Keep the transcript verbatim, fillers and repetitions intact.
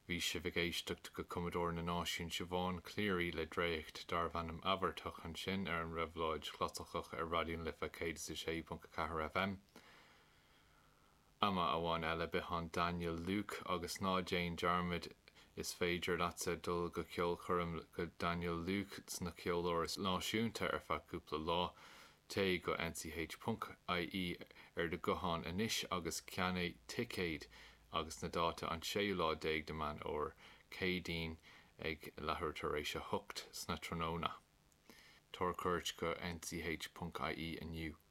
Bhí sibh ag éisteacht go cumadóir na náisiún Siobhán Cleary le dréacht darb ainm Abhartach ansin ar an Réabhlóid Chlasaiceach ar Raidió na Life céad is a sé ponc a ceathair FM. Ama amháin eile b'shin Daniel Luke agus ná déan dearmad is féidir leatsa dul go ceolchoirm go Daniel Luke sna Ceoláras Náisiúnta ar feadh cúpla lá. Téigh go nch.ie ar do ghuthán anois agus ceannaigh ticéid agus na dáta an séú lá déag de Mheán Fómhair Céadaoin ag leathuair tar éis a hocht sna tráthnóna. Tabhair cuairt go nch.ie inniu.